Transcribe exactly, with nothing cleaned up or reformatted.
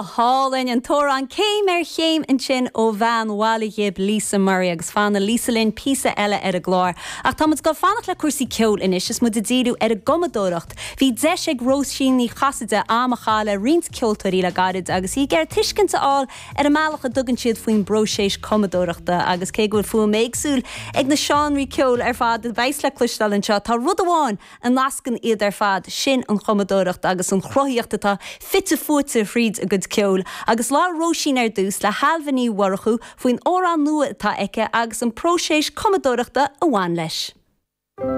Hálainn an t-amhrán céim ar chéim ansin ó bhean Bhaile Ghib Lisa Murray agus fanfaidh Lisa linn píosa eile ar an gclár. Ach táimid ag fanacht le cúrsaí ceoil anois is muid ag díriú ar an gcumadóireacht. Bhí deis ag Róisín Ní Chasaide am a chaitheamh le roinnt ceoltóirí le gairid agus í ag iarraidh tuiscint a fháil ar an mbealach a dtugann siad faoin bpróiseas cumadóireachta agus cé go bhfuil fuaim éagsúil ag na seánraí ceoil ar fad a bheas le cloisteáil anseo tá rud amháin a nascann iad ar fad sin an chumadóireacht agus an chruthaíocht atá fite fuaite thríd a gcuid ceoil, agus labhair Róisín ar dtús le hAilbhe Ní Mhurchú faoin amhrán nua atá aici agus an próiseas cumadóireachta a bhain leis.